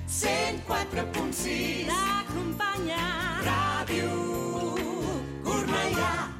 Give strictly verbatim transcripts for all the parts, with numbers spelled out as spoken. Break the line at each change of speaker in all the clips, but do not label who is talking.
cent quatre punt sis. T'acompanya Ràdio Cornellà.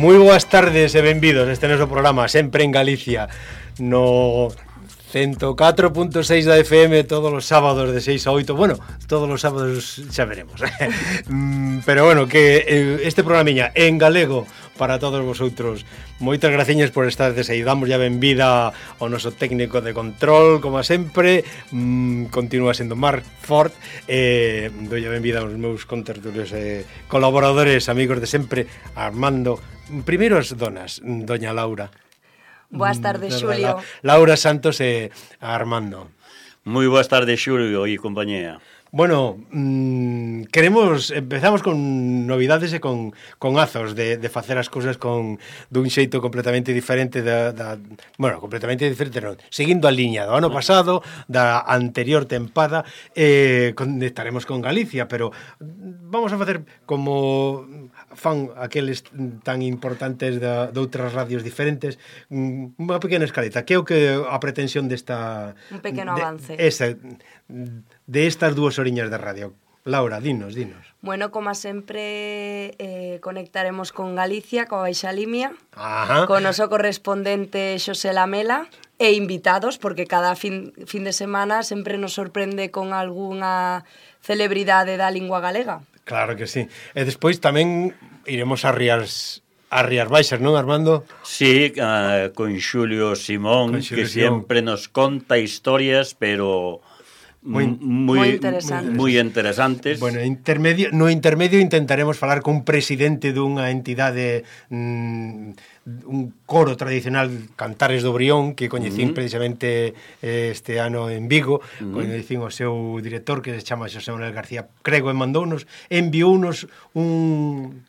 Moi boas tardes e benvidos este noso programa Sempre en Galicia no ciento catro punto seis da F M todos os sábados de seis a oito. Bueno, todos os sábados xa veremos. Pero bueno, que este programiña en galego para todos vosotros. Moitas graciñas por estar aí. Damos ya benvida ao noso técnico de control, como sempre. Mm, continúa sendo Marc Ford. Eh, doi a benvida aos meus contertulios e eh, colaboradores, amigos de sempre, Armando. Primeiro as donas, doña Laura.
Boas tardes, Xulio.
Laura Santos e Armando.
Moi boas tardes, Xulio e compañía.
Bueno, mmm, queremos, empezamos con novidades e con, con azos de, de facer as cousas con dun xeito completamente diferente da, da, bueno, completamente diferente non, seguindo a liña do ano pasado, da anterior tempada. Eh, conectaremos con Galicia, pero vamos a facer como fan aqueles tan importantes da, de outras radios diferentes, unha pequena escaleta, que é o que a pretensión desta...
Un pequeno
de,
avance.
Esa, de estas dúas oriñas de radio. Laura, dinos, dinos.
Bueno, como sempre, eh, conectaremos con Galicia, coa Baixa Limia,
Ajá.
con o noso correspondente Xosé Lamela, e invitados, porque cada fin, fin de semana sempre nos sorprende con algunha celebridade da lingua galega.
Claro que sí. E despois tamén iremos a Rías... a Rías Baixas, non, Armando?
Sí, uh, con Xulio Simón, con Xulio que Simón. Siempre nos conta historias, pero moi, moi,
moi interesantes.
Moi interesantes.
Bueno, intermedio, no intermedio intentaremos falar con un presidente dunha entidade, mm, un coro tradicional, Cantares do Brión, que coñecín uh-huh. precisamente este ano en Vigo, uh-huh. coñecín o seu director, que se chama Xosé Manuel García Crego, e mandounos, enviounos un...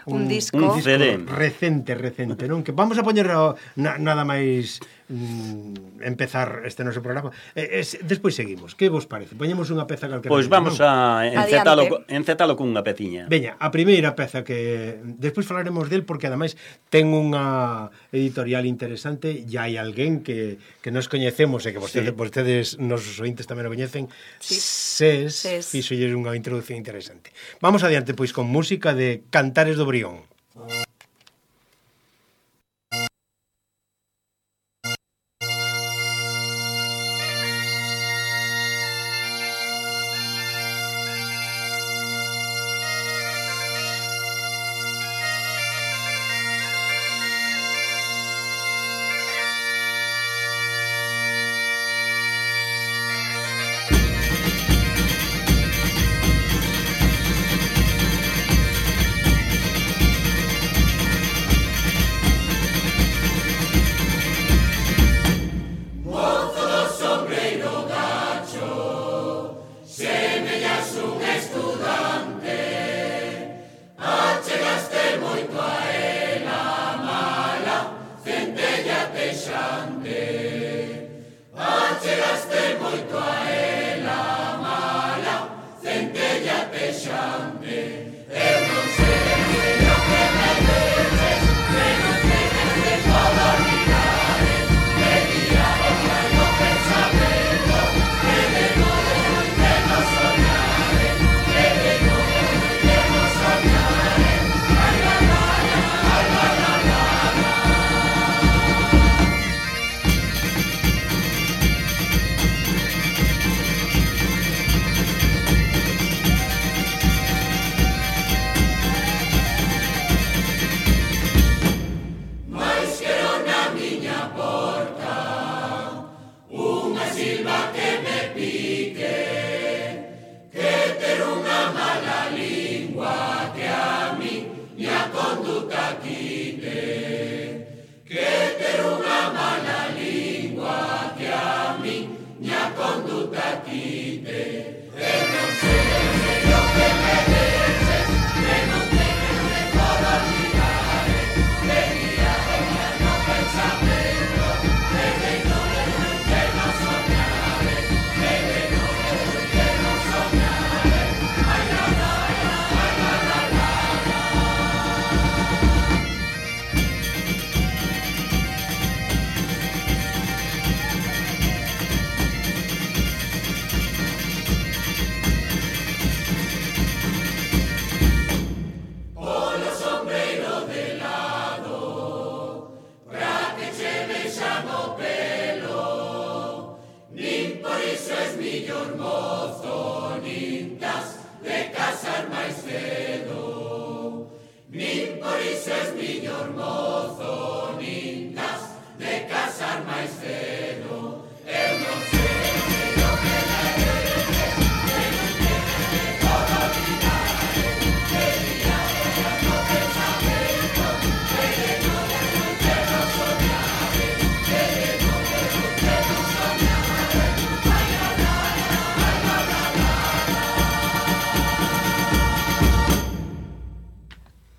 Un, un disco,
un disco recente, recente, non? Que vamos a poñer na, nada máis mm, empezar este noso programa. Eh, es, despois seguimos. Que vos parece? Poñemos unha peza calquera.
Pois vamos non? a encetalo, encetalo cunha peciña.
Veña, a primeira peza que despois falaremos del, porque ademais ten unha editorial interesante, e hai alguén que, que nos coñecemos e que vostedes, sí. vostedes nosos ointes tamén o coñecen. Sí. Ses, Ses. Fixolles unha introducción interesante. Vamos adiante pois con música de Cantares do Brión.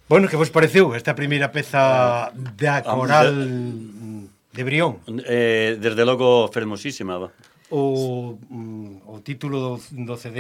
Bueno, que vos pareceu esta primeira peza da coral de Brión?
Eh, desde logo fermosísima, va.
O, o o título do, do C D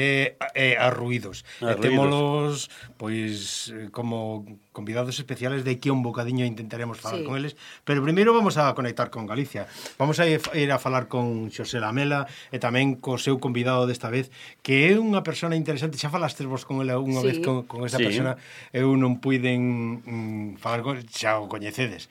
é Arruídos. E témolos, pois, como convidados especiales, de aquí a un bocadiño intentaremos falar sí. con eles, pero primeiro vamos a conectar con Galicia. Vamos a ir a falar con Xosé Lamela e tamén co seu convidado desta vez, que é unha persona interesante. Xa falastes vos con ela unha sí. vez con, con esa sí. persona, eu non puiden mm, falar con, xa o coñecedes.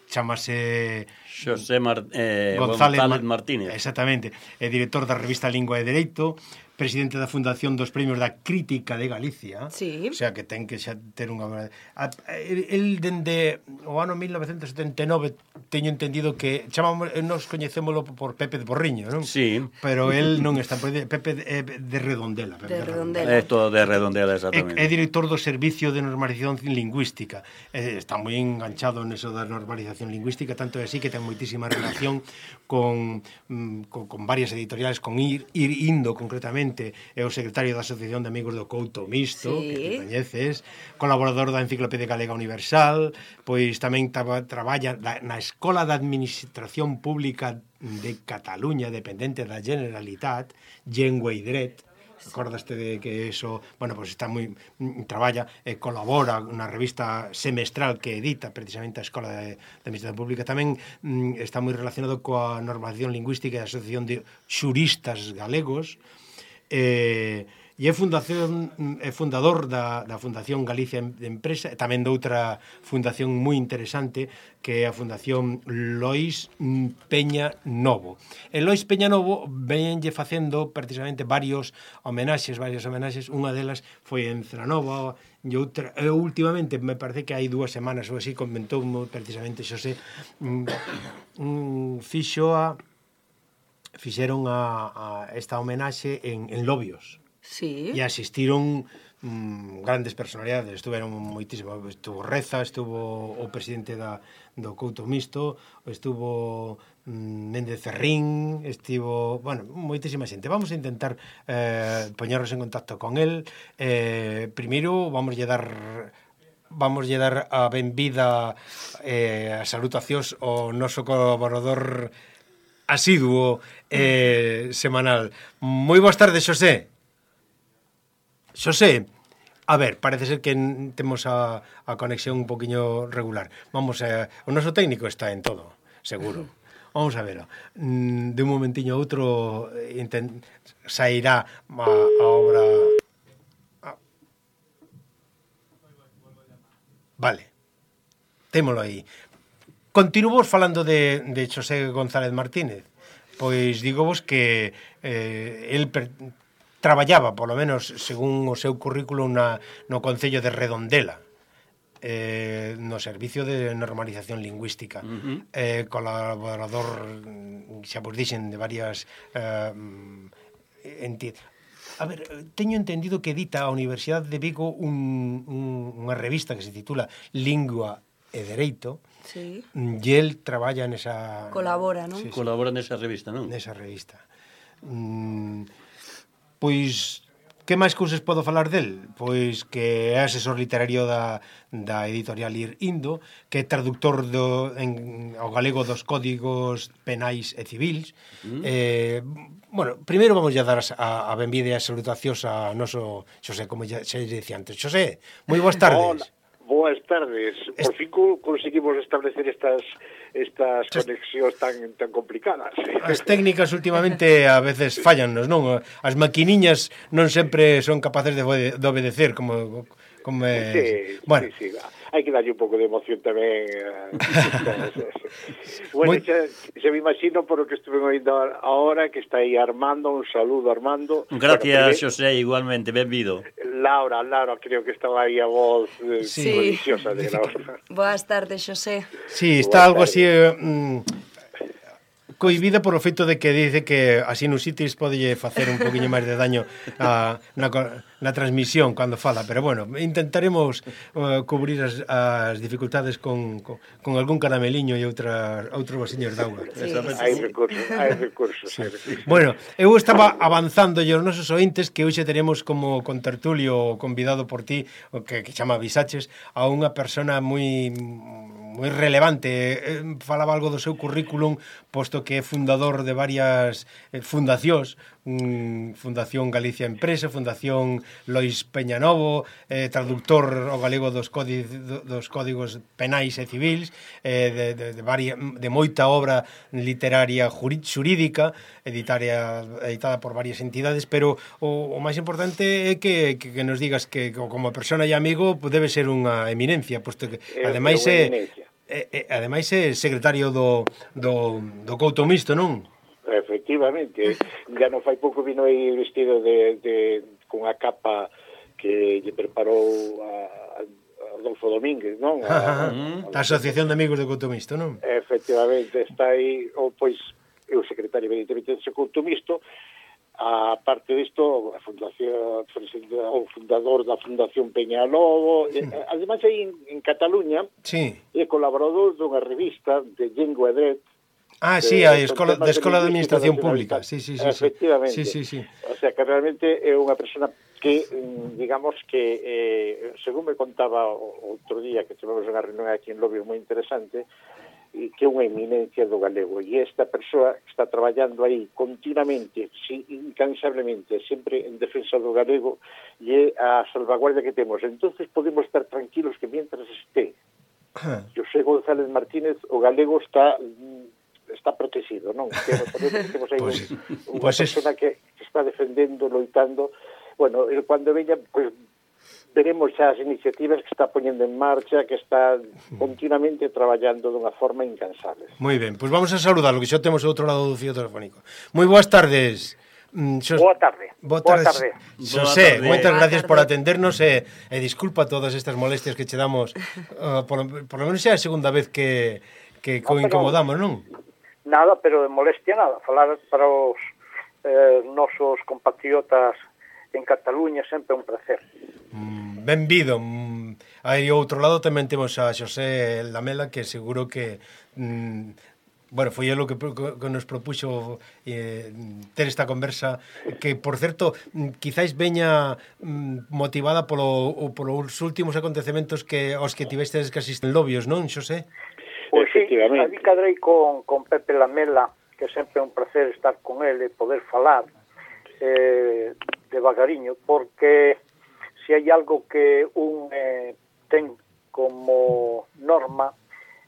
Chámase
Xosé Mar, eh, González, González Martínez.
Exactamente, é director da revista Lingua e Dereito, presidente da Fundación dos Premios da Crítica de Galicia.
Sí.
O sea, que ten que xa ter unha... El, dende o ano mil novecentos setenta e nove, teño entendido que chamamos, nos coñecémolo por Pepe de Porriño, non?
Sí.
Pero el non está... Pepe de, de Redondela. Pepe
de Redondela.
É todo de Redondela, exactamente.
É, é director do Servicio de Normalización Lingüística. É, está moi enganchado neso da normalización lingüística, tanto é así que ten moitísima relación con, con, con varias editoriales, con Ir, Ir Indo, concretamente, é o secretario da Asociación de Amigos do Couto Misto, sí. que te coñeces, colaborador da Enciclopedia Galega Universal, pois tamén traba, traballa na Escola de Administración Pública de Cataluña, dependente da Generalitat, Llengua i Dret. Acordaste de que eso, bueno, pues está moi traballa e eh, colabora na revista semestral que edita precisamente a Escola de, de Administración Pública. Tamén mm, está moi relacionado coa normalización lingüística da Asociación de Xuristas Galegos. Eh, e é fundación é fundador da, da Fundación Galicia de Empresa, e tamén doutra fundación moi interesante que é a Fundación Lois Peña Novo. E Lois Peña Novo venenlle facendo precisamente varios homenaxes, varias homenaxes, unha delas foi en Celanova, e outra, e últimamente me parece que hai dúas semanas ou así comentou precisamente Xosé un, un fixo a fixeron a, a esta homenaxe en, en Lobios.
Sí.
E asistiron mm, grandes personalidades, estuveron moitísimo, estuvo Reza, estuvo o presidente da, do Couto Misto, estuvo mm, Méndez Ferrín, estivo, bueno, moitísima xente. Vamos a intentar eh, poñernos en contacto con el. Eh, primeiro, vamos a dar... vamos a dar a benvida eh, a salutacións ao noso colaborador asiduo eh, semanal. Moi boas tardes, Xosé. Xosé, a ver, parece ser que temos a, a conexión un poquinho regular. Vamos a... O noso técnico está en todo, seguro. Vamos a verlo. De un momentiño a outro intent... sairá a, a obra... Vale. Témolo aí. Continuamos falando de, de Xosé González Martínez. Pois dígovos que eh, el per, traballaba, polo menos, según o seu currículo, na, no Concello de Redondela, eh, no Servicio de Normalización Lingüística. Uh-huh. eh, colaborador, xa vos dixen, de varias eh, entidades. A ver, teño entendido que edita a Universidade de Vigo un, un, unha revista que se titula Lingua e Dereito.
Sí.
E el traballa nesa...
Colabora, non?
Sí, sí.
Colabora nesa revista, non?
Nesa revista. Mm, pois, que máis cousas podo falar del? Pois que é asesor literario da, da editorial Ir Indo, que é traductor do, en, ao galego dos códigos penais e civils. Mm. Eh, bueno, primeiro vamos a dar a, a benvida e a salutacións a noso Xosé, como xa, xa dicía antes. Xosé, moi boas tardes.
Hola. Boas tardes. Por fin conseguimos establecer estas estas conexións tan tan complicadas.
As técnicas últimamente a veces fallannos, non? As maquiniñas non sempre son capaces de, de obedecer como como é...
Sí,
bueno.
sí, sí. Hai que darlle un pouco de emoción tamén. Bueno, Muy... xa, xa me imagino por o que estuve oindo ahora que está aí Armando, un saludo Armando.
Gracias, bueno, Xosé, igualmente, benvido.
Laura, Laura, creo que estaba aí a voz eh,
sí.
deliciosa de Laura.
Boas tardes, Xosé.
Sí, está Boas algo tardes. así... Eh, mm, cohibida por o feito de que dice que a sinusitis podelle facer un poquinho máis de daño a, na, na transmisión cando fala, pero bueno, intentaremos uh, cubrir as, as dificultades con, con, con algún carameliño e outra, outros vasiños de auga.
Sí, hai recursos, hai recursos, sí.
Bueno, eu estaba avanzando e os nosos ointes que hoxe teremos como contertulio convidado por ti, o que, que chama Visaches, a unha persona moi moi relevante. Eh, falaba algo do seu currículum, posto que é fundador de varias eh, fundacións, um, Fundación Galicia Empresa, Fundación Lois Peñanovo, eh, traductor ao galego dos, códi, dos códigos penais e civils, eh, de, de, de, varia, de moita obra literaria xurídica, editaria, editada por varias entidades, pero o, o máis importante é que, que, que nos digas que como persona e amigo debe ser unha eminencia, posto que ademais é, é, é ademais é secretario do, do, do Couto Mixto, non?
Efectivamente, ya non fai pouco vino aí vestido de, de con a capa que lle preparou a, a Adolfo Domínguez, non? A, a,
a Asociación de Amigos do Couto Mixto, non?
Efectivamente, está aí, ou pois, é o secretario evidentemente dese Couto Mixto. A parte disto, a fundación, o fundador da Fundación Peñalobo, sí. Ademais aí en, en Cataluña, sí. É colaborador dunha revista de Llengua e Dret.
Ah, sí, a Escola de Escola de Administración Pública. Sí, sí, sí.
Efectivamente.
Sí, sí, sí.
O sea, que realmente é unha persona que, digamos que, eh, según me contaba outro día que tivemos unha reunión aquí en Lobio moi interesante, e que é unha eminencia do galego, e esta persoa está traballando aí continuamente, incansablemente, sempre en defensa do galego, e é a salvaguardia que temos. Entonces podemos estar tranquilos que mientras esté José González Martínez, o galego está está protegido, non? Temos, temos aí pues, unha pues persona es... que está defendendo, loitando. Bueno, cando veña, pues, veremos xa as iniciativas que está poñendo en marcha, que está continuamente traballando dunha forma incansable.
Moi ben, pois pues vamos a saludarlo, que xa temos outro lado do fío telefónico. Moi boas tardes.
Xos... Boa tarde.
Boa tarde. Boa tarde. Xosé, moitas gracias por atendernos e, e disculpa todas estas molestias que che damos. Uh, por, por lo menos xa é a segunda vez que, que no, incomodamos, non?
Nada, pero de molestia nada. Falar para os eh, nosos compatriotas en Cataluña sempre é un placer.
Mm, benvido. Mm, aí ao outro lado tamén temos a Xosé Lamela, que seguro que mm, bueno, foi o que, que nos propuxo eh, ter esta conversa, que, por certo, quizáis veña mm, motivada polo, polos últimos acontecementos que os que tivestes que asisten Lobios, non, Xosé?
Pois sí, ali cadrei con, con Pepe Lamela, que sempre é un placer estar con ele e poder falar eh, devagariño, porque se hai algo que un eh, ten como norma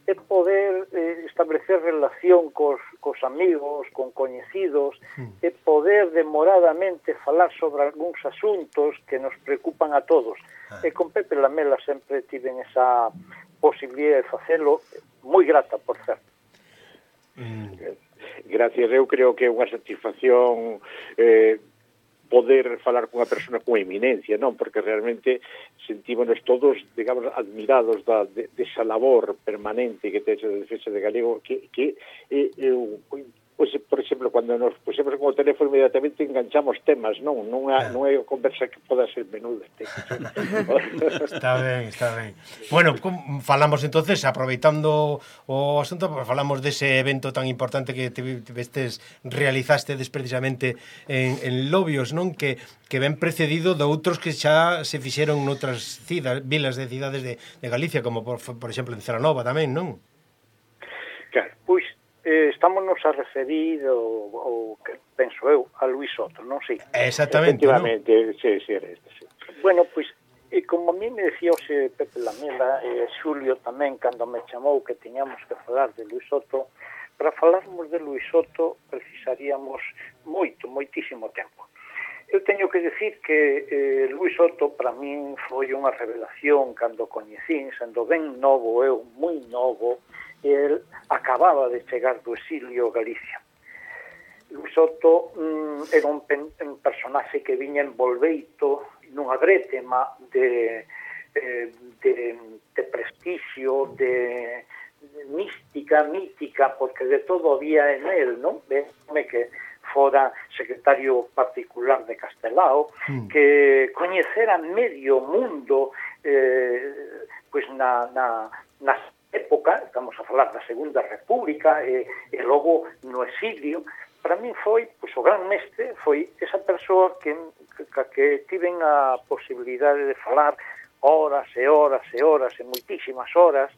é poder eh, establecer relación cos, cos amigos, con coñecidos, mm. e poder demoradamente falar sobre algúns asuntos que nos preocupan a todos. Ah. E con Pepe Lamela sempre tiven esa posibilidade de facelo, moi grata, por certo.
Mm. Gracias, eu creo que é unha satisfacción eh, poder falar cunha persona con eminencia, non? Porque realmente sentímonos todos, digamos, admirados da, de, de esa labor permanente que ten a defensa de galego, que, que eh, eu, pois, por exemplo, cando nos pusemos con o teléfono inmediatamente enganchamos temas, non? Non é, non é conversa que poda ser menuda.
Está ben, está ben. Bueno, falamos entonces, aproveitando o asunto, falamos dese evento tan importante que vestes realizaste precisamente en, en Lobios, non? Que, que ven precedido de outros que xa se fixeron noutras cidas, vilas de cidades de, de Galicia, como por, por exemplo en Celanova tamén, non?
Claro, pois eh, estámonos a referir o, o que penso eu a Luis Soto, non sei.
Exactamente,
efectivamente,
¿no?
sí, sí, era este, sí.
Bueno, pois e como a mí me decía ose Pepe Lamela e eh, Xulio tamén cando me chamou que tiñamos que falar de Luis Soto, para falarmos de Luis Soto precisaríamos moito, moitísimo tempo. Eu teño que decir que eh, Luis Soto para min foi unha revelación cando coñecín, sendo ben novo, eu moi novo, el acababa de chegar do exilio a Galicia. Luis Soto mm, era un, pen, un personaxe que viña envolveito nunha brétema de, eh, de, de prestigio, de, de mística, mítica, porque de todo había en él, non? Veme que fora secretario particular de Castelao, mm. que coñecera medio mundo eh, pois na, na, na época, estamos a falar da Segunda República e, e logo no exilio. Para min foi, pois, o gran mestre foi esa persoa que, que, que tiven a posibilidade de falar horas e horas e horas e moitísimas horas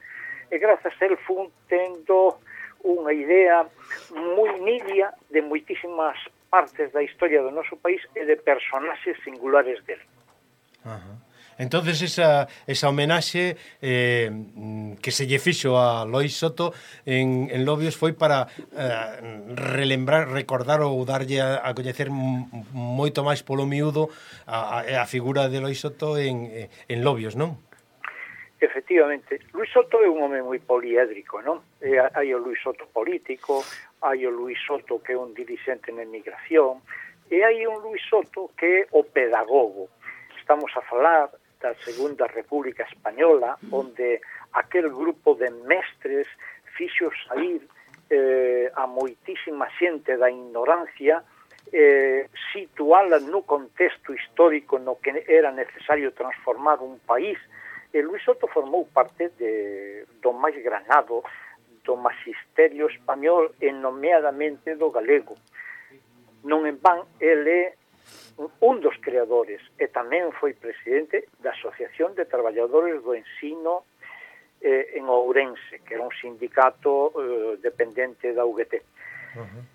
e grazas a el fun tendo unha idea moi nidia de moitísimas partes da historia do noso país e de personaxes singulares dele.
Ajá. Entonces esa, esa homenaxe eh, que se lle fixo a Lois Soto en, en Lobios foi para eh, relembrar, recordar ou darlle a, a coñecer moito máis polo miúdo a, a, a figura de Lois Soto en, en Lobios, non?
Efectivamente, Luis Soto é un home moi poliédrico, non? E hai o Luis Soto político, hai o Luis Soto que é un dirixente na emigración, e hai un Luis Soto que é o pedagogo. Estamos a falar da Segunda República Española, onde aquel grupo de mestres fixo sair eh, a moitísima xente da ignorancia, eh, situala no contexto histórico no que era necesario transformar un país. E Luis Soto formou parte de, do máis granado do magisterio español e nomeadamente do galego. Non en van, ele é un dos creadores e tamén foi presidente da Asociación de Traballadores do Ensino eh, en Ourense, que era un sindicato eh, dependente da U G T. Uh-huh.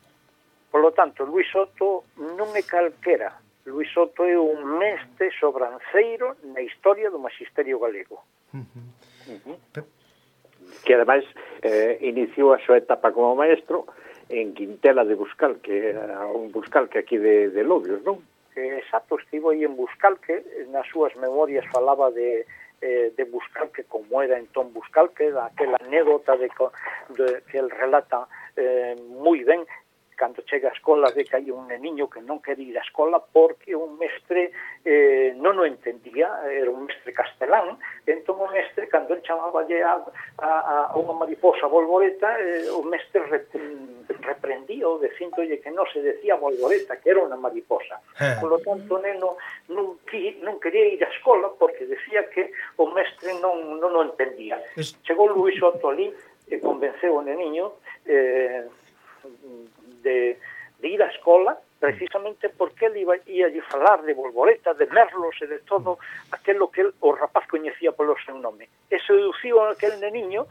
Por lo tanto, Luis Soto non é calquera. Luis Soto é un mestre sobranceiro na historia do magisterio galego.
Uh-huh. Uh-huh. Que ademais eh, iniciou a súa etapa como maestro en Quintela de Buscal, que era un Buscalque aquí de, de Lobios, non?
Exacto, estivo aí en Buscalque, nas súas memorias falaba de, eh, de Buscalque como era entón Buscalque, daquela anécdota de, de, que el relata eh, moi ben, cando chega a escola ve que hai un neniño que non quere ir á escola porque un mestre eh, non o entendía, era un mestre castelán, entón o mestre, cando el chamaba a, a, a unha mariposa bolboreta, eh, o mestre rep, reprendía o dicindolle que non se decía bolboreta, que era unha mariposa. Eh. Por lo tanto, o neno non, non quería ir á escola porque decía que o mestre non, non o entendía. Es... Chegou Luis Soto ali e convenceu o neniño eh, De, de ir á escola precisamente porque ele iba, ia a falar de bolboretas, de merlos e de todo aquilo que el, o rapaz coñecía polo seu nome. E seduciu a aquel neniño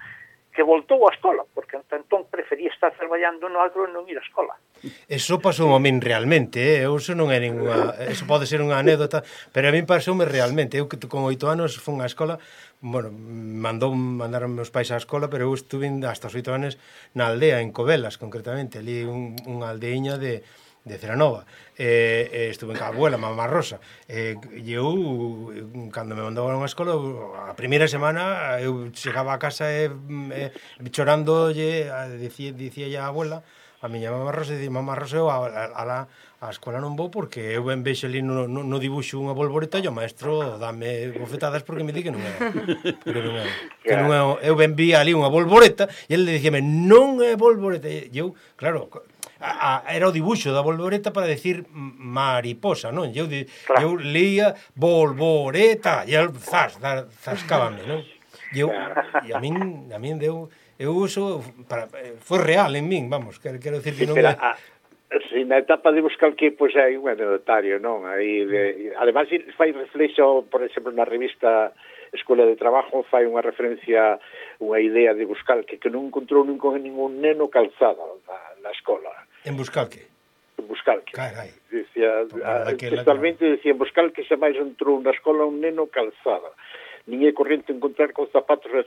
que voltou á escola, porque entón prefería estar traballando no agro e non ir á escola.
Eso pasou a min realmente, eh? Eso non é ninguna, eso pode ser unha anécdota, pero a min pasoume realmente. Eu que con oito anos fun á escola, bueno, mandou mandaron meus pais á escola, pero eu estuve hasta os oito anos na aldea, en Covelas, concretamente, ali un, unha aldeiña de, de Ceranova. E, e estuve en ca abuela, mamá Rosa. E, e eu, cando me mandaban á escola, a primeira semana, eu chegaba a casa e, e chorando, dicía, dicía a abuela, a miña mamá Rosa, dicía, mamá Rosa, eu a, a, a, a escola non vou porque eu ben vexo ali no, no, no dibuixo unha bolboreta e o maestro dame bofetadas porque me di que non é. Porque non é, que non é, eu ben vi ali unha bolboreta e ele dicíame, non é bolboreta. E eu, claro, a, a, era o dibuixo da bolboreta para decir mariposa, non? E eu, claro. Eu leía bolboreta e el zas, zascábame, non? E eu, e a min, a min deu... Eu uso, para, foi real en min, vamos, quero, quero decir que non é...
Si na etapa de buscar que pois hai un anecdotario, non? Aí de, además fai reflexo, por exemplo, na revista Escola de Trabajo fai unha referencia, unha idea de Buscalque que non encontrou ningún, ningún neno calzada na, na escola.
En Buscalque?
En Buscalque.
Carai.
Dicía, textualmente dicía, en Buscalque xa máis entrou na escola un neno calzada. Nin é corrente encontrar con zapatos e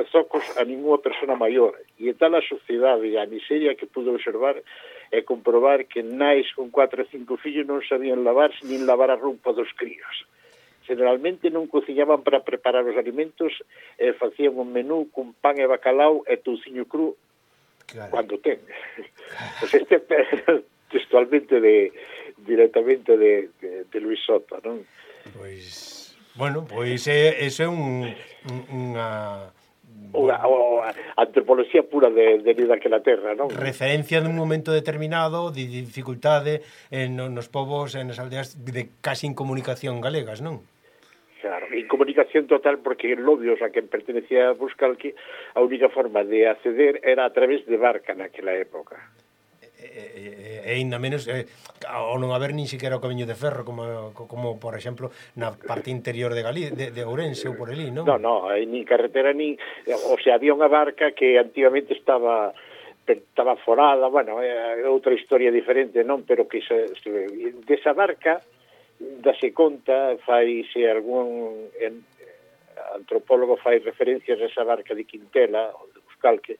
socos a ninguna persona maior. E é tal a sociedade e a miseria que pudo observar e comprobar que nais con cuatro e cinco fillos non sabían lavarse nin lavar a roupa dos críos. Generalmente non cociñaban para preparar os alimentos e facían un menú con pan e bacalao e touciño cru, claro, cando ten. Pois este textualmente de, directamente de, de, de Luis Soto, non?
Pois... Bueno, pois é, é un, unha...
Unha, unha antropoloxía pura de, de vida que na terra, non?
Referencia dun momento determinado de dificultade en, nos povos, en as aldeas de casi incomunicación galegas, non?
Claro, incomunicación total porque en Lobios, a quen pertenecía a Buscalque, a única forma de acceder era a través de barca naquela época.
e, e ainda menos eh, ao non haber nin siquiera o camiño de ferro como, como por exemplo na parte interior de Galí, de, de Ourense ou por ali, non?
Non, non, ni carretera ni, o sea, había unha barca que antigamente estaba estaba forada, bueno, é outra historia diferente, non, pero que se, se desa barca dase conta, faise algún en, antropólogo fai referencias a esa barca de Quintela, ou de Buscalque,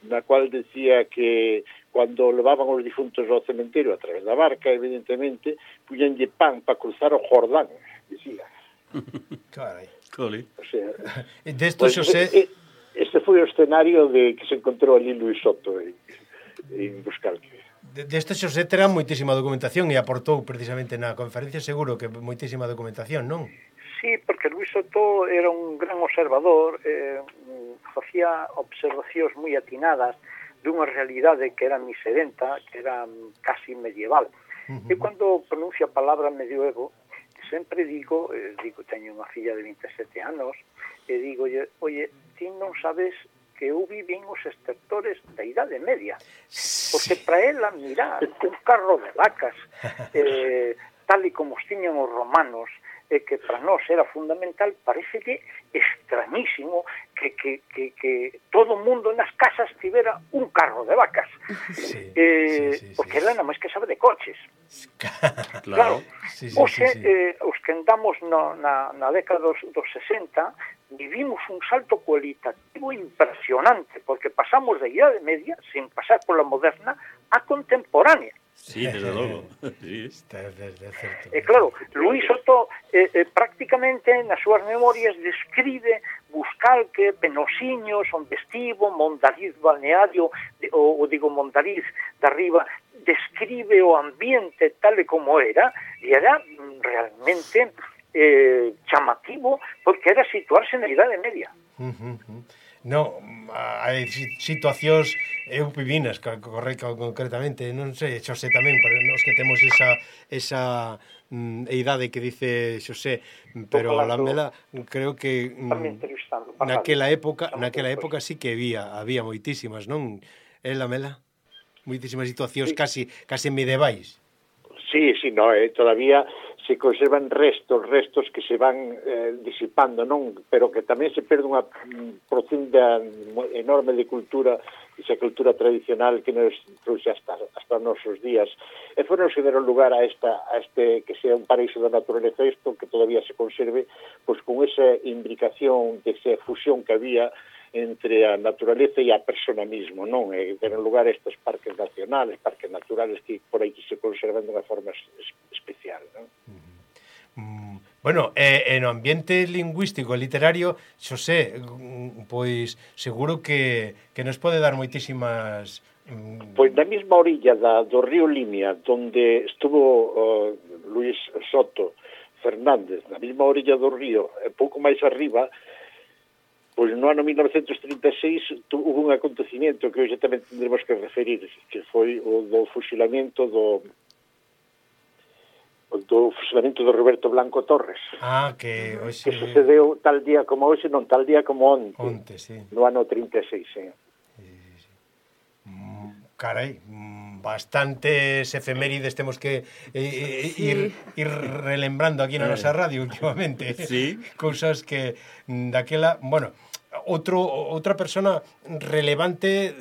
na cual decía que cando levaban os difuntos ao cementerio a través da barca, evidentemente, puñanlle pan para cruzar o Jordán, decía.
Carai.
Coli.
O sea,
Desto
pues,
Xosé...
este foi o escenario de que se encontrou ali Luis Soto en, en Buscalque.
Deste Xosé terá moitísima documentación e aportou precisamente na conferencia seguro que moitísima documentación, non?
Sí, porque Luis Soto era un gran observador, eh, facía observacións moi atinadas dunha realidade que era miserenta, que era casi medieval. Uh-huh. E cando pronuncia a palabra medioevo, sempre digo, eh, digo, teño unha filla de vinte e sete anos, e digo, oye, ti non sabes que eu vivín os estertores da Idade Media, porque para ela, mirar un carro de vacas, eh, tal e como os tiñan os romanos, e que para nós era fundamental, parecelle extrañísimo que, que, que, que todo o mundo nas casas tivera un carro de vacas. Sí, eh, sí, sí, porque sí, ela nada máis que sabe de coches.
Claro.
Claro.
Sí, sí,
Oxe,
sí, sí.
Eh, os que andamos no, na, na década dos, dos sesenta, vivimos un salto cualitativo impresionante, porque pasamos da Idade Media, sin pasar pola moderna, a contemporánea.
Sí, desde logo. Sí.
E claro, Luis Soto eh, eh, prácticamente nas súas memorias describe Buscalque, Penosiños, onde estivo, Mondariz balneario, ou, ou digo Mondariz de arriba, describe o ambiente tal e como era, e era realmente eh, chamativo, porque era situarse na Idade Media.
Uh -huh. No, hai situacións eu vivinas, correcto, concretamente, non sei, Xosé tamén, para nós que temos esa esa mm, idade que dice Xosé, pero la Mela creo que mm, naquela época, naquela época sí que había, había moitísimas, non? É la Mela? Moitísimas situacións sí. casi casi medievais.
Sí, sí, no, eh, todavía se conservan restos, restos que se van eh, disipando, non? Pero que tamén se perde unha profunda enorme de cultura, esa cultura tradicional que nos trouxe hasta, hasta os nosos días. E foron se deron lugar a, esta, a este que sea un paraíso da naturaleza, isto que todavía se conserve, pois con esa imbricación, de esa fusión que había entre a naturaleza e a persona mismo, non? E deron lugar a estes parques nacionales, parques naturales que por aí se conservan de unha forma especial, non?
Mm, bueno, e, e no ambiente lingüístico e literario, Xosé, pois seguro que, que nos pode dar moitísimas... Mm...
Pois na mesma orilla da, do río Limia, donde estuvo uh, Luis Soto Fernández, na mesma orilla do río, e pouco máis arriba, pois no ano mil novecentos trinta e seis hubo un acontecimiento que hoxe tamén tendremos que referir, que foi o do fusilamento do do fusilamento do Roberto Blanco Torres.
Ah, que hoxe...
Que sucedeu tal día como hoxe, non tal día como onte.
Onte, sí.
No ano trinta e seis, sí.
Sí, sí. Mm, carai, bastantes efemérides temos que eh, sí. ir, ir relembrando aquí na nosa radio últimamente.
Sí.
Cousas que daquela, bueno, outro outra persona relevante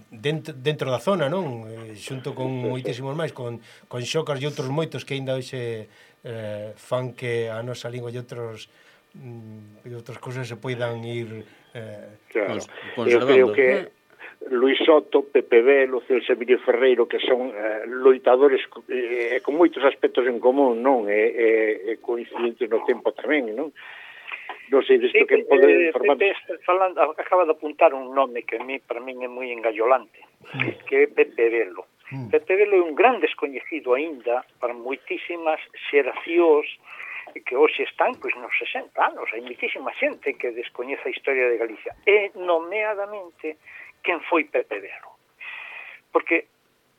dentro, dentro da zona, non? Xunto con moitísimos máis, con, con Xocas e outros moitos que aínda hoxe eh, fan que a nosa lingua e outros e outras cousas se poidan ir eh,
claro. Eu creo que Luis Soto, Pepe Velo, Celso Emilio Ferreiro, que son eh, loitadores eh, con moitos aspectos en común, non? E, e, e coincidentes no tempo tamén, non? Non sei disto que pode informar.
Pepe, falando, acaba de apuntar un nome que a mí, para min é moi engallolante, mm. que é Pepe Velo. Mm. Pepe Velo é un gran descoñecido aínda para moitísimas xeracións que hoxe están pois nos sesenta anos. Hai moitísima xente que descoñece a historia de Galicia. E, nomeadamente, quen foi Pepe Velo. Porque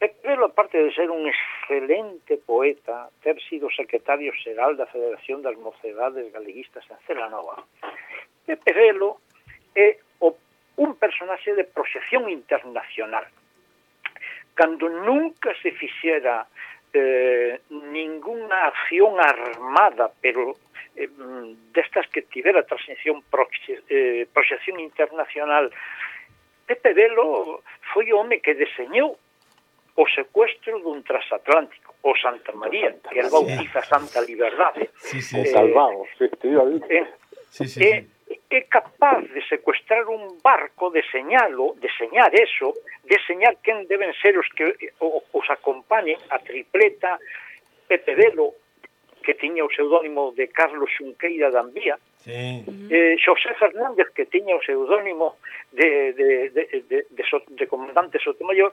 Pepe Velo, aparte de ser un excelente poeta, ter sido secretario xeral da Federación das Mocedades Galeguistas en Celanova, Pepe Velo é o, un personaxe de proxección internacional. cando nunca se fixera eh, ninguna acción armada, pero eh, destas que tivera transición proxe, eh, proxección internacional, Pepe Velo foi o home que deseñou o secuestro dun transatlántico, o Santa María, que el bautiza Santa Liberdade.
Sí, sí,
O
sí.
Calvao, efectivamente.
Eh,
Sí, sí,
é,
sí.
é capaz de secuestrar un barco, deseñalo, deseñar eso, deseñar quen deben ser os que os acompañen, a tripleta, Pepe Velo, que tiña o pseudónimo de Carlos Xunqueira da Ambía,
Sí.
eh, Xosé Fernández, que tiña o pseudónimo de, de, de, de, de, so, de comandante Sotomayor,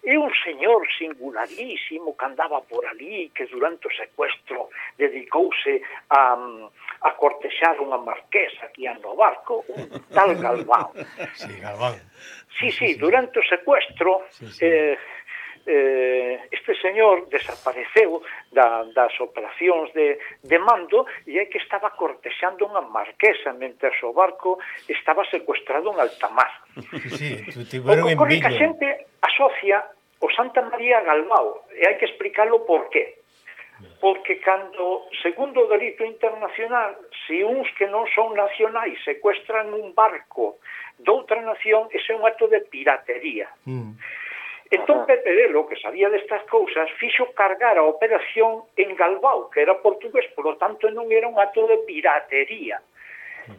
é un señor singularísimo que andaba por ali, que durante o secuestro dedicouse a, a cortexar unha marquesa que ia no barco, un tal Galvao.
Sí, Galván.
Sí, sí, durante o secuestro,
Sí, sí.
eh, eh, este señor desapareceu da, das operacións de, de mando e é que estaba cortexando unha marquesa mentre o barco estaba secuestrado en alta mar.
Sí, sí,
O
tiveron
que ocorre que a
envidia.
xente asocia o Santa María Galvao e hai que explicarlo por qué. Porque cando, segundo o delito internacional, se uns que non son nacionais secuestran un barco doutra nación, ese é un acto de piratería.
Mm.
Entón Pepe Velo, que sabía destas cousas, fixo cargar a operación en Galvao, que era portugués, polo tanto non era un acto de piratería.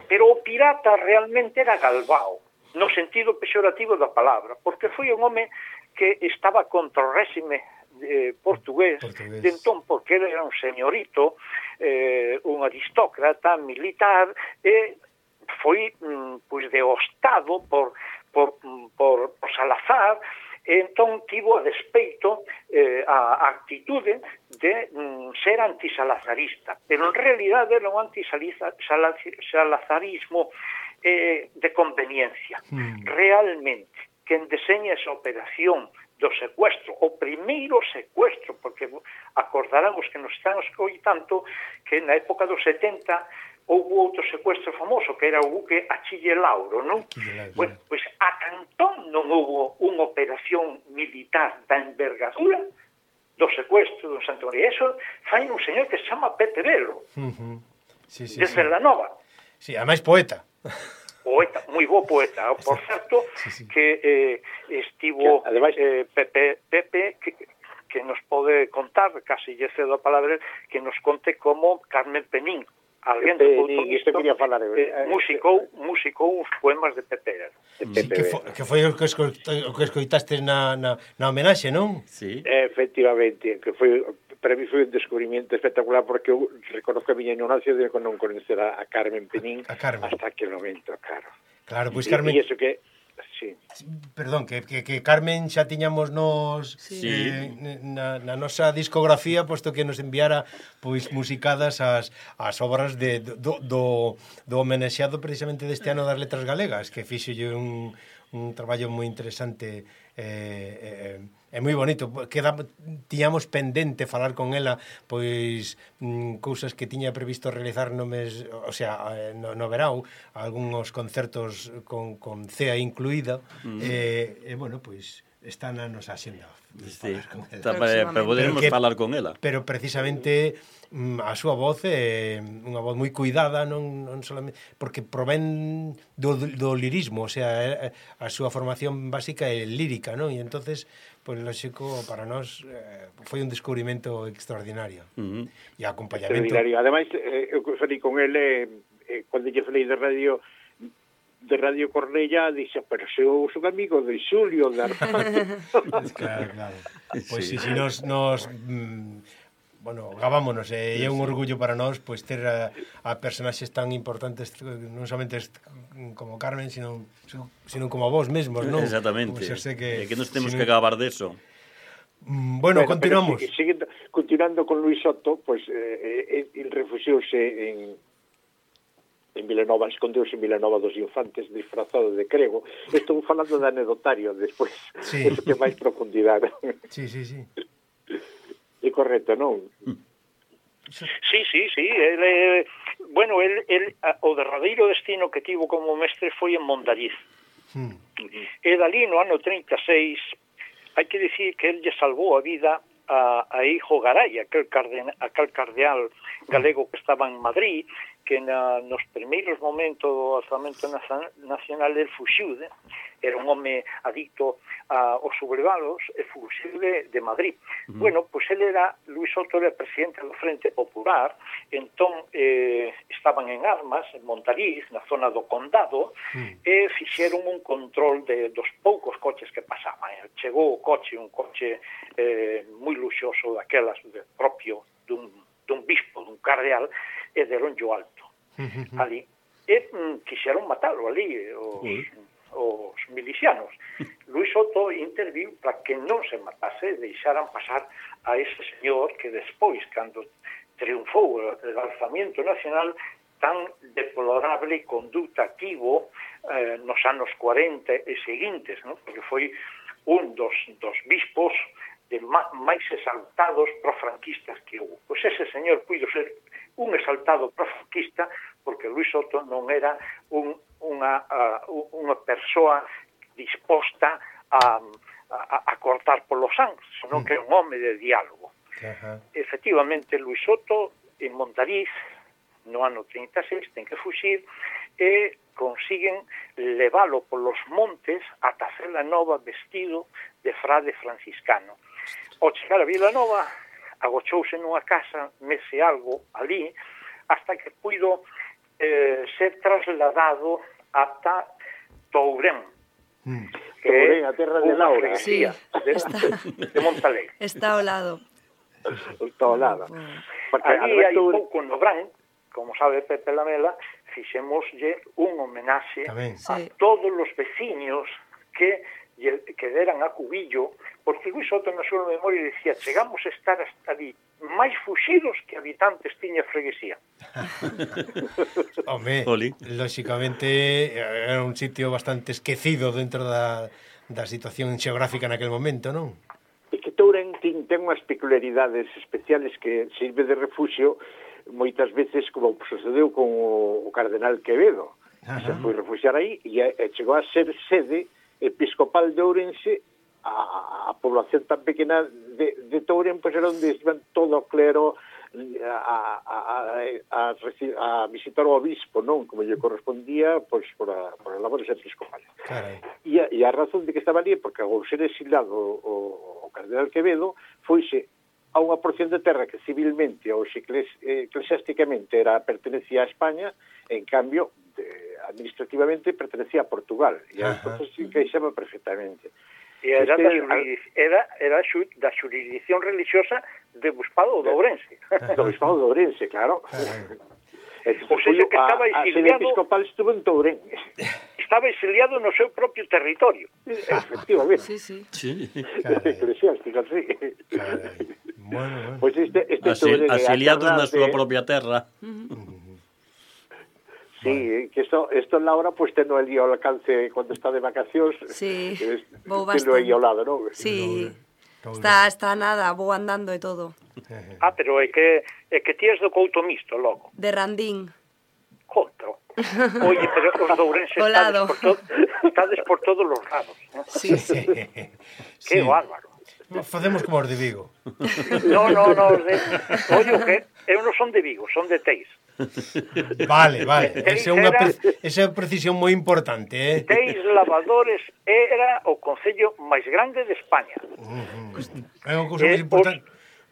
Pero o pirata realmente era Galvao, no sentido pexorativo da palabra, porque foi un home que estaba contra o réxime eh, portugués,
Portugués.
de entón, porque ele era un señorito, eh, un aristócrata militar, e foi mm, pois deostado por, por, por, por Salazar, e entón tivo a despeito eh, a, a actitude de mm, ser antisalazarista, pero en realidade era un antisalazarismo eh, de conveniencia.
Mm.
Realmente, quen deseña esa operación do secuestro, o primeiro secuestro, porque acordarán os que nos están escoitando que na época dos setenta houve outro secuestro famoso, que era o buque Achille Lauro, non?
Lauro.
Bueno, pois a Cantón non houve unha operación militar da envergadura do secuestro do Santa María. Eso fai un señor que se chama Pepe Velo,
Uh-huh. Sí, sí,
de
sí.
Cerdanova.
Sí, además poeta.
Poeta, moi bo poeta, por certo,
Sí, sí.
que eh, estivo
Que, ademais-
eh, Pepe, Pepe que, que nos pode contar, casi lle cedo a palabra, que nos conte como Carmen Penín, alguén de
Penín, isto quería falar,
eh,
eh,
musicou, musicou uns poemas de Pepe Velo.
Sí, que, fo, que foi o que, escoita, o que escoitaste na, na, na homenaxe, non?
Sí.
Efectivamente, que foi, para mí foi un descubrimiento espectacular, porque eu reconozco a miña ignorancia de que non conocer a, a Carmen Penín
A Carmen.
hasta aquel momento, claro.
Claro, pois
E-
Carmen...
E iso que, sí,
Perdón, que, que, que Carmen xa tiñamos nos
Sí.
eh, na, na nosa discografía, posto que nos enviara pois musicadas as, as obras de, do, do, do homenaxeado precisamente deste ano das letras galegas, que fixolle un, un traballo moi interesante eh, eh, é moi bonito. Queda, tiñamos pendente falar con ela pois mm, cousas que tiña previsto realizar no mes, o sea, eh, no, no verao, algúns concertos con, con C E A incluída, mm. e, e bueno, pois está na nosa axenda.
Sí,
falar con ela.
ta- para, para podermos
Pero que-
falar con ela.
Pero precisamente mm, a súa voz é unha voz moi cuidada, non, non solamente porque provén do, do lirismo, o sea, a súa formación básica é lírica, non? E entonces, pois pues, lógico, para nós eh, foi un descubrimento extraordinario.
Uh -huh.
E acompañamento.
extraordinario. Ademais, eh, eu que falei con ele, eh, cando lle falei de radio de Radio Cornella, dixe, pero se eu son amigo de Xulio, de Armando.
Claro, claro. Pois si, si nos, nos mm, bueno, gavámonos, e eh, é un orgullo para nós pois ter a, a personaxes tan importantes, non somente como Carmen, sino, sino como a vos mesmos, non?
Exactamente.
Como sé que,
É que nos temos
sino...
que gabar deso.
Mm, bueno, bueno, continuamos.
Pero, seguindo, continuando con Luis Soto, pois pues, eh, eh, el refuxiouse en en Vilanova, escondeuse en Vilanova dos Infantes disfrazado de crego. Estou falando de anedotario despois,
Sí.
eso que máis profundidade.
Sí, sí, sí.
É correcto, non?
Sí, sí, sí, ele, bueno, el, el, o derradeiro destino que tivo como mestre foi en Mondariz.
Mm.
E dali no ano trinta e seis hai que dicir que el lle salvou a vida a, a Hijo Garay, aquel, carden, aquel cardeal galego que estaba en Madrid, que na, nos primeiros momentos do alzamento nacional el fuxiu de, era un home adicto a, aos sublevados e fuxiu de, de Madrid. Uh -huh. Bueno, pois pues ele era, Luis Soto era presidente do Frente Popular, entón eh, estaban en armas, en Montariz, na zona do Condado, uh -huh. e fixeron un control de, dos poucos coches que pasaban. Chegou o coche, un coche eh, moi luxoso, daquelas de propio dun, dun bispo, dun cardeal, e deron yo alto uh -huh. ali. E mm, quixeron matalo ali, os, uh -huh. os milicianos. Luis Soto interviu para que non se matase, deixaran pasar a ese señor que despois, cando triunfou o alzamiento nacional, tan deplorable conduta tivo eh, nos anos cuarenta e seguintes, ¿no? Porque foi un dos, dos bispos de máis exaltados profranquistas que houve. Pois ese señor puido ser un exaltado profranquista porque Luis Soto non era un, unha, uh, unha persoa disposta a, a, a cortar polos sangs, senón que era un home de diálogo. Uh-huh. Efectivamente, Luis Soto en Montariz, no ano trinta e seis, ten que fuxir e consiguen leválo polos montes ata Cela Nova vestido de frade franciscano. Ao chegar a Vila Nova, agochouse nunha casa, mese algo ali, hasta que puido eh, ser trasladado ata Tourén,
mm. que Tourén, a terra de Laura,
sí,
de,
está,
de Montalegre.
Está ao lado.
Está ao lado.
Porque ali hai pouco no Brán, como sabe Pepe Lamela, fixemoslle un homenaxe Tamén. a sí. todos os veciños que que deran a cubillo, porque Luis Soto na súa memoria dicía, chegamos a estar hasta ali máis fuxidos que habitantes tiña freguesía.
Home, lóxicamente era un sitio bastante esquecido dentro da, da situación xeográfica naquel momento, non?
E que Tourén ten, ten unhas peculiaridades especiales que sirve de refuxio moitas veces, como sucedeu con o, o cardenal Quevedo. Ajá. Se foi refuxiar aí e, e chegou a ser sede episcopal de Ourense. A, a población tan pequena de, de Tourén, pois era onde iban todo o clero a, a, a, a, a visitar o obispo, non? Como lle correspondía, pois, por, a, por as labores episcopales. E a, e a razón de que estaba ali, porque ao ser exilado o, o cardenal Quevedo, foise a unha porción de terra que civilmente ou eclesiásticamente era pertenecía a España, en cambio, de, administrativamente pertenecía a Portugal, e entonces se encaixaba perfectamente.
E era, este, da, jurisdic era, era xu, da xurisdicción religiosa de Obispado de Ourense.
Do Obispado de Ourense, claro.
O sea, que estaba exiliado...
A sede episcopal estuvo en Tourén.
Estaba exiliado no seu propio territorio.
Efectivamente.
Sí, sí.
sí.
Eclesiástica, sí.
Bueno, bueno.
Pues este, este
Asil, asiliados na súa propia terra.
Sí, bueno. Que esto, esto Laura, pues teno el día ao alcance cuando está de vacacións.
Sí,
es,
vou bastante.
Teno aí ao lado, non?
Sí, está, está nada, vou andando e todo.
Ah, pero é que é que ti és do Couto Misto, logo.
De Randín.
Contro. Oye, pero os dourenses estades por, to estades por todos os lados, ¿no?
Sí, sí.
Que sí. Bárbaro.
Facemos como os de Vigo.
No, no, no, os de... Oye, que eu non son de Vigo, son de Teis.
Vale, vale. Esa é unha pre... esa é unha precisión moi importante, eh.
Teis Lavadores era o concello máis grande de España.
Uh -huh. É unha cousa eh, moi importante.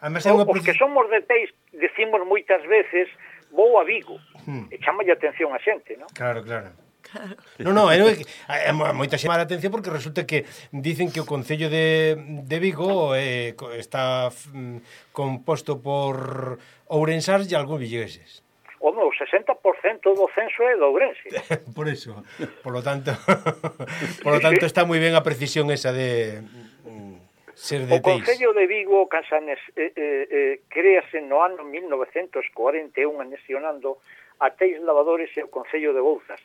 Además, é unha os que somos de Teis, decimos moitas veces, vou a Vigo. Hmm. E chamalle atención a xente, non?
Claro, claro. Claro. No, no, é, é moita xema a atención porque resulta que dicen que o Concello de, de Vigo eh, está mm, composto por ourensás e algúns vigueses.
O meu, sesenta por cento do censo é de Ourense.
Por eso, por lo tanto, por lo tanto está moi ben a precisión esa de mm, ser de
Teis. O Concello de Vigo, Cansanes, eh, eh, eh, créase no ano mil novecentos cuarenta e un anexionando a Teis Lavadores e o Concello de Bouzas.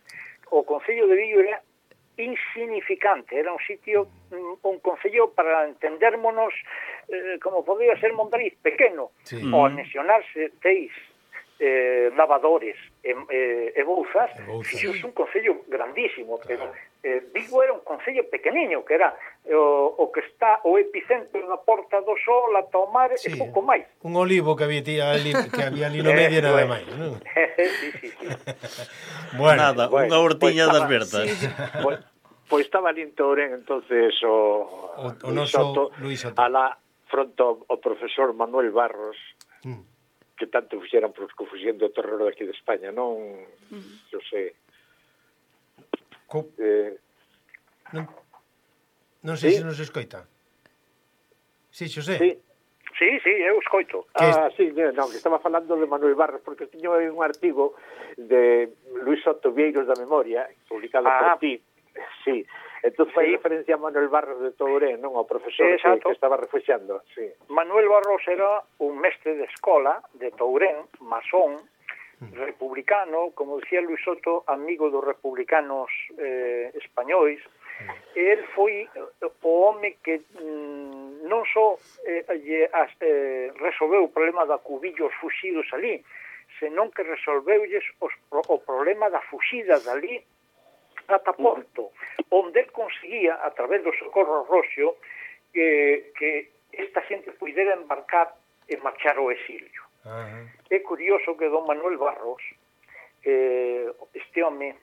O Concello de Vigo era insignificante, era un sitio, un concello para entendérmonos, eh, como podría ser Montariz, pequeno, sí. O anexionarse Teis, eh, Lavadores e, eh, e Bouzas, fixose un concello grandísimo, pero eh, Vigo era un concello pequeniño, que era o, o que está o epicentro da Porta do Sol ata o mar sí, e pouco máis.
Un olivo que había, ali, que había ali no medio nada máis, non?
sí, sí, sí.
Bueno, nada,
bueno,
unha hortiña
pues
das vertas.
Sí, sí.
Pois pues estaba ali en Tourén, entonces o,
o, o
Luis,
noso
Soto,
Luis Soto,
a la fronto o profesor Manuel Barros, mm. que tanto fixeran por confusión do terror aquí de España, non? Mm. Eu sei.
Co...
Eh,
non, non sei
¿sí?
se nos escoita. Sí, Xosé.
Sí.
Sí, sí, eu escoito.
Ah, sí, non, que estaba falando de Manuel Barros, porque tiño un artigo de Luis Soto Vieiros da Memoria, publicado ah. por ti. Sí, entón fai sí. referencia a Manuel Barros de Tourén, non ao profesor que, que estaba refuxando. Sí.
Manuel Barros era un mestre de escola de Tourén, masón, republicano, como dicía Luis Soto, amigo dos republicanos eh, españois. El foi o home que mm, non só eh, eh, resolveu o problema da cubillos fuxidos ali, senón que resolveulles os, o problema da fuxida dali ata Porto, onde el conseguía, a través do Socorro Roxo, que, que esta xente puidera embarcar e marchar ao exilio. Uh-huh. É curioso que don Manuel Barros, eh, este home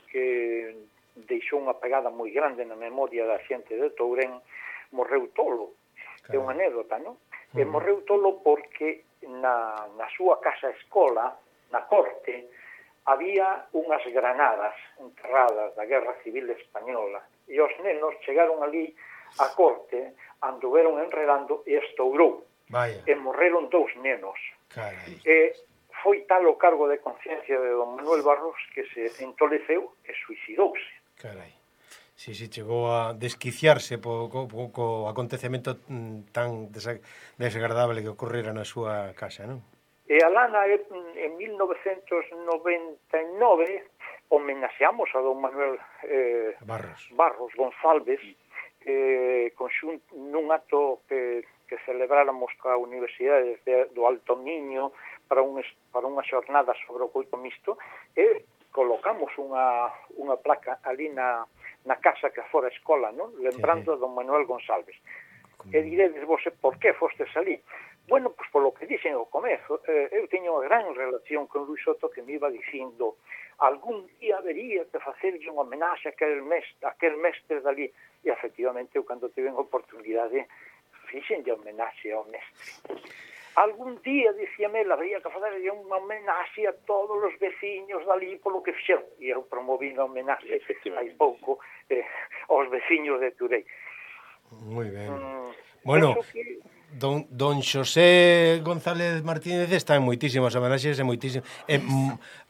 que deixou unha pegada moi grande na memoria da xente de Tourén, morreu tolo. É unha anécdota, non? Uh-huh. E morreu tolo porque na, na súa casa escola, na corte, había unhas granadas enterradas da Guerra Civil Española e os nenos chegaron ali á corte, anduveron enredando e estourou.
Vaya.
E morreron dous nenos.
Carai.
E foi tal o cargo de conciencia de don Manuel Barros que se entoleceu e suicidouse.
Carai. Si, si, chegou a desquiciarse po, co, po, co acontecemento tan desagradable que ocorrera na súa casa, non?
E alá en mil novecentos noventa e nove homenaxeamos a don Manuel eh,
Barros.
Barros González eh, conxun, nun acto que, que celebráramos coa Universidade de, do Alto Miño para, un, para unha xornada sobre o coito mixto e colocamos unha, unha placa ali na, na casa que fora a escola, non? Lembrando sí. a don Manuel González. Como... E diredes vos, por que fostes ali? Bueno, pois polo que dixen ao comezo, eh, eu teño unha gran relación con Luis Soto que me iba dicindo algún día habería que facerlle unha homenaxe a aquel mestre, a aquel mestre dali. E, efectivamente, eu cando tive a oportunidade, fixenlle homenaxe ao mestre. Algún día, dicíame, habría que facerlle unha homenaxe a todos os veciños dali polo que fixeron. E eu promoví unha homenaxe hai pouco eh, aos veciños de Turei.
Moi ben. Mm, bueno... Que... Don, don Xosé González Martínez está en moitísimas homenaxes e moitísimas eh,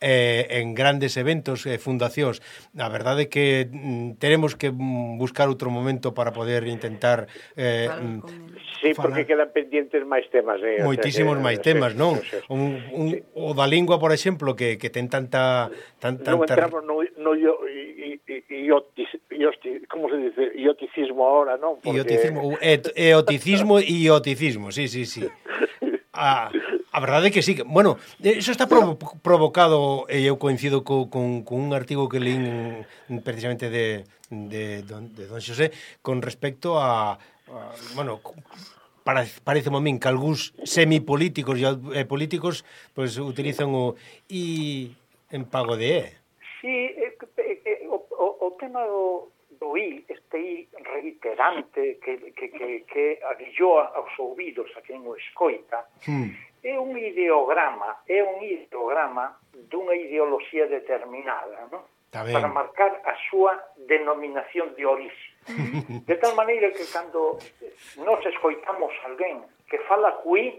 eh, en grandes eventos e eh, fundacións. A verdade é que mm, teremos que buscar outro momento para poder intentar eh,
sí, falar. Porque quedan pendientes máis temas eh,
moitísimos o sea, que, máis temas, non? Un, un, sí. O da lingua, por exemplo, que, que ten tanta, tan, tanta...
Non entramos no, no yo, i, i, iotis, iotis, como se dice? Ioticismo ahora, non?
Porque... Ioticismo, et, eoticismo e ioticismo. Sí, sí, sí. A, a verdade é que sí. Bueno, eso está provo provocado, e eu coincido co, con, con un artigo que leín precisamente de, de, don, de don Xosé con respecto a, a bueno, para, parece a min que algúns semipolíticos e políticos pues, utilizan o I en pago de E.
Sí, eh, eh, o, o, o tema do do I, este I reiterante que, que, que, que aguillou aos ouvidos a quen o escoita, hmm. é un ideograma, é un ideograma dunha ideoloxía determinada, non? Para marcar a súa denominación de orixe. De tal maneira que cando nos escoitamos alguén que fala cuí,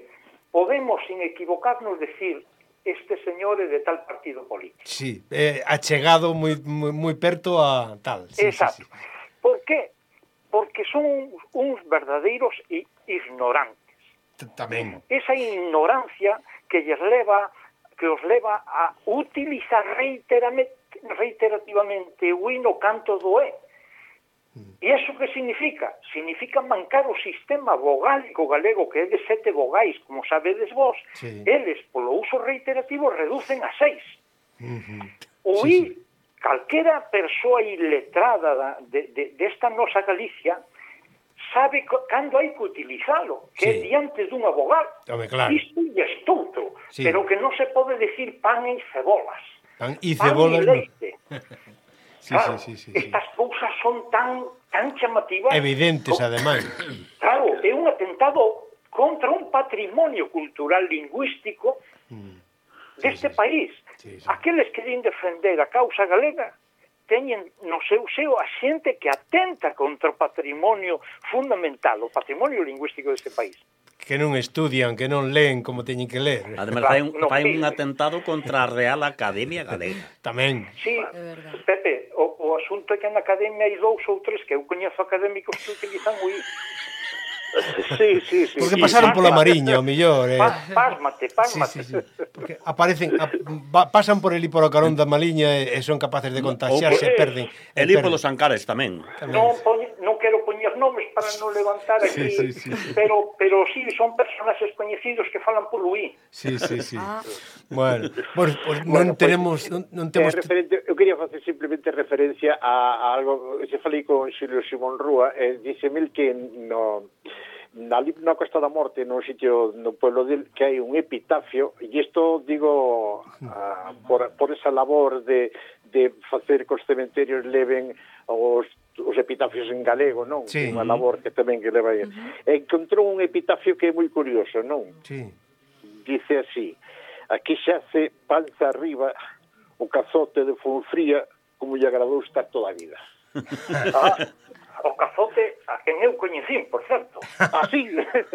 podemos, sin equivocarnos, decir este señor é de tal partido político.
Sí, eh, achegado moi, moi, moi perto a tal. Sí,
exacto. Sí, sí. Por qué? Porque son uns verdadeiros ignorantes.
Tamén.
Esa ignorancia que lles leva, que os leva a utilizar reiterativamente o I no canto do E. E iso que significa? Significa mancar o sistema vogálico galego que é de sete vogais, como sabedes vos. Sí. Eles, polo uso reiterativo, reducen a seis. Uh-huh. O sí, I, sí. calquera persoa iletrada de, de, desta nosa Galicia, sabe cando hai que utilizalo, que
Sí.
é diante dun abogado.
Home, claro.
Isto é estudo,
Sí.
pero que non se pode decir pan e cebolas.
Pan e
Pan
cebolas,
e
no.
leite.
Sí,
Claro,
sí, sí, sí, sí.
estas cousas son tan tan chamativas.
Evidentes,
Co-
ademais.
Claro, é un atentado contra un patrimonio cultural lingüístico deste
sí, sí.
país.
Sí, sí.
Aqueles que din defender a causa galega teñen no seu seo a xente que atenta contra o patrimonio fundamental, o patrimonio lingüístico deste país.
Que non estudian, que non leen como teñen que ler.
Además,
Claro,
fai un,
no
fai un
pide.
atentado contra a Real Academia Galega.
Tamén.
Sí,
verdad.
Pepe, o, o asunto é que na academia hai dous ou tres que eu coñezo académicos que utilizan o I.
Sí, sí, sí.
Porque
Sí,
pasaron pola
pásmate.
Mariña, o millor. Eh.
Pa- Pásmate,
Sí,
pásmate.
sí, sí. Porque aparecen, a, va, pasan por el por o carón da Mariña e, e son capaces de contagiarse,
Ou
e
por-
perden. e
El hipo
perden.
dos Ancares tamén.
Non, poñe, non quero poñer nomes para non levantar aquí,
Sí, sí, sí.
pero pero sí son personaxes coñecidos que falan polo I.
Sí, sí, sí.
Ah.
Bueno, pues, pues
Bueno,
non
pues,
tenemos non, non
Eh,
temos
referente, eu quería facer simplemente referencia a, a algo que se falei con Xulio Simón Rúa, e eh, dice mil que no na, na Costa da Morte, no sitio no pueblo del, que hai un epitafio, e isto digo uh, por, por esa labor de, de facer que os cementerios leven os, os epitafios en galego, non?
Sí.
Unha labor que tamén que leva aí. Uh-huh. Encontrou un epitafio que é moi curioso, non?
Sí.
Dice así: aquí se hace panza arriba o cazote de Fonfría como lle agradou estar toda a vida.
Ah, o cazote a quen eu coñecín, por certo.
Así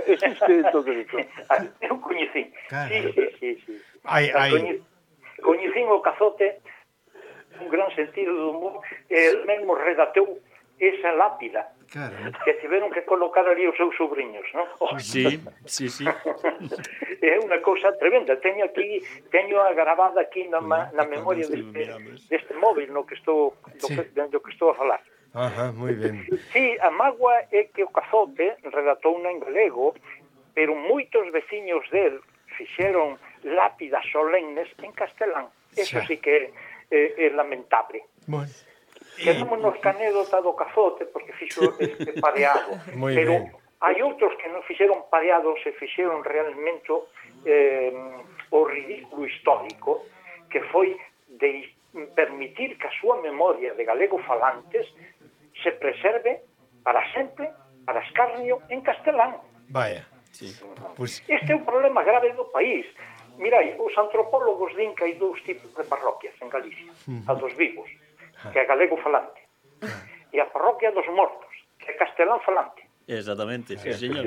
existe todo isto.
A quen eu coñecín.
Claro.
Sí, sí, sí, sí.
Ai,
A
ai.
coñe- Coñecín o cazote un gran sentido do humor, e el mesmo redactou esa lápida
Claro.
que tiveron que colocar ali os seus sobrinhos, non? Oh,
Sí, sí, sí.
é unha cousa tremenda. Teño aquí, teño a gravada aquí na, ma- na memoria
Sí,
deste,
miramos.
deste móvil no que estou do,
Sí.
que, do que estou a falar.
Ajá, moi ben.
Sí, a mágoa é que o cazote redactou en galego, pero moitos veciños del fixeron lápidas solemnes en castelán. Eso
Xa.
sí que é, é lamentable.
Bueno.
Quedámonos ca anécdota do cazote porque fixo este pareado.
Moi
pero
ben.
hai outros que non fixeron pareados e fixeron realmente eh, o ridículo histórico que foi de permitir que a súa memoria de galego falantes se preserve para sempre, para escarnio, en castelán.
Vaya.
Sí.
Pues
Este é un problema grave do país. Mirai, os antropólogos din que hai dous tipos de parroquias en Galicia. A dos vivos, que é galego falante, e a parroquia dos mortos, que é castelán falante.
Exactamente, sí, señor.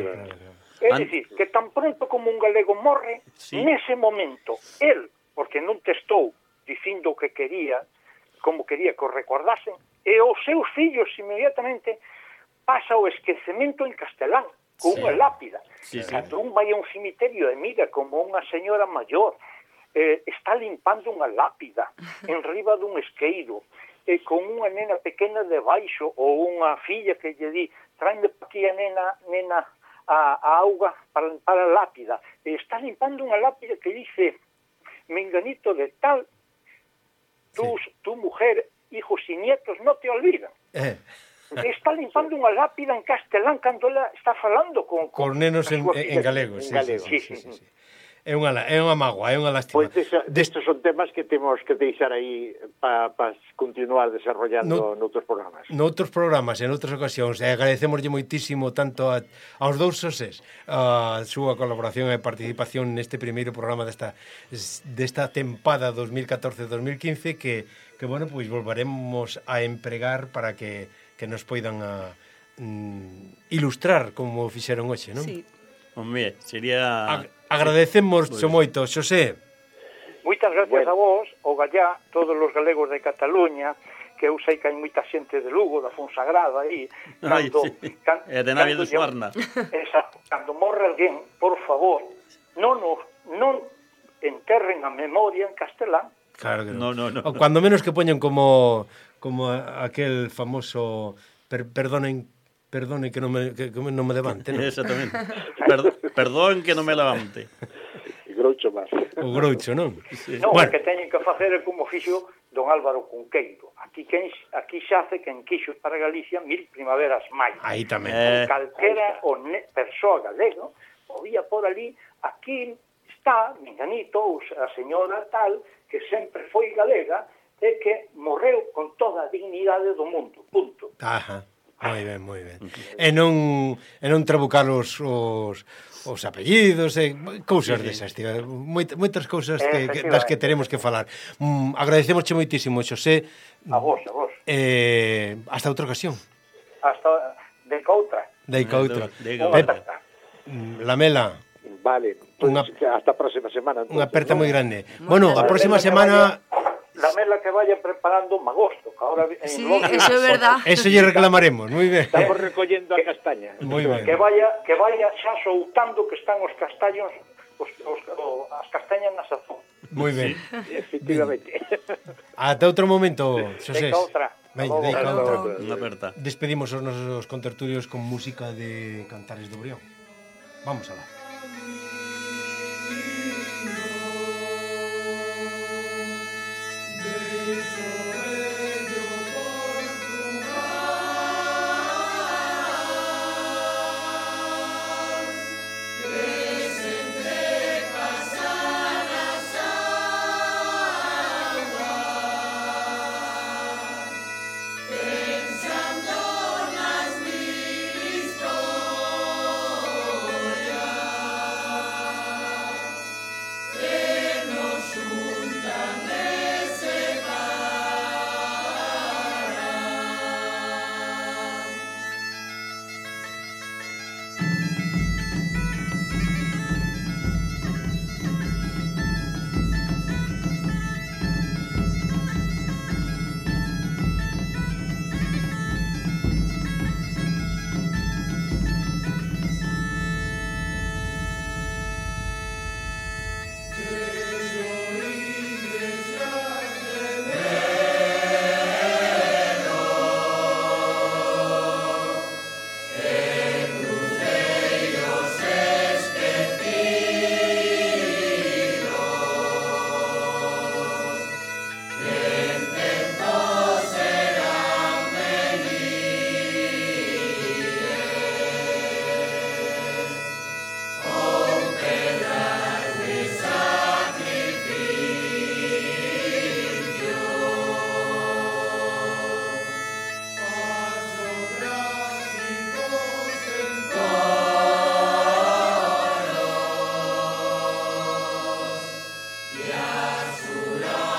É
An-
dicir, que tan pronto como un galego morre,
Sí.
nese momento, el, porque non testou dicindo o que quería, como quería que o recordasen, e os seus fillos inmediatamente pasa o esquecemento en castelán, con
Sí.
unha lápida.
Sí, sí.
Cando un vai a un cemiterio e mira como unha señora maior eh, está limpando unha lápida en riba dun esqueiro, e con unha nena pequena debaixo, ou unha filla que lle di, traeme aquí a nena, nena, a, a auga para limpar a lápida, e está limpando unha lápida que dice, menganito de tal, tu, sí. tu mujer, hijos y nietos no te olvidan.
eh,
Está limpando unha lápida en castelán cando ela está falando con...
con nenos en,
as súas
en
fillas.
galego,
en
sí,
galego,
sí, sí, sí, sí. É unha la- é unha mágoa, é unha lástima.
Pois pues destes son temas que temos que deixar aí para pa continuar desarrollando
No-
noutros programas.
Noutros programas, en outras ocasións, e agradecemoslle moitísimo tanto a, aos dous Xosés a súa colaboración e participación neste primeiro programa desta desta tempada dos mil catorce dos mil quince que, que bueno, pois volveremos a empregar para que, que nos poidan a, mm, ilustrar como fixeron hoxe, non?
Sí.
Hombre, sería...
Ag- agradecemos
Pois.
moito, Xosé.
Moitas gracias
Bueno.
a vos, o Gallá, todos os galegos de Cataluña, que eu sei que hai moita xente de Lugo, da Fonsagrada, aí,
Ai,
cando...
sí.
can-
E de Navia
cando
de
lle-
Suarna.
Exacto, cando morre alguén, por favor, non, nos, non enterren a memoria en castelán.
Claro que
No, no, no.
O cuando menos que poñan como como aquel famoso per, perdonen perdone que non me que, que non me levante, ¿no?
Exactamente. Perd perdón que non me levante.
E Groucho máis.
O Groucho, non?
Non,
Bueno.
o que teñen que facer é como fixo don Álvaro Cunqueiro. Aquí, quen, aquí xace quen quixo para Galicia mil primaveras máis.
Aí tamén.
Eh... Calquera o ne, persoa galego podía por ali, aquí está, menganito, a señora tal, que sempre foi galega e que morreu con toda a dignidade do mundo, punto.
Ajá, moi ben, moi ben. E non, e non trabucar os, os, os apellidos e cousas sí, desas, tío. Moit, moitas cousas que, que, das que teremos que falar. Mm, agradecemosche moitísimo, Xosé.
A vos, a vos.
Eh, hasta outra ocasión.
Hasta de outra.
De outra.
Pep,
Lamela.
Vale, pues unha, hasta a próxima semana.
Unha aperta moi grande. Bueno, a próxima semana...
Lamela que vaya preparando un agosto, que ahora en
sí,
Londres,
eso é verdad.
Eso lle reclamaremos, moi ben.
Estamos recollendo a castaña.
Moi ben.
Que vaya, que vaya xa soltando que están os castaños, os, os, os, as castañas na sazón.
Moi ben.
Sí, efectivamente.
Ata outro momento, Xosé.
Deca outra.
Veña, deca outra.
Unha aperta.
Despedimos os nosos contertulios con música de Cantares do Brión. Vamos alá.
Yasura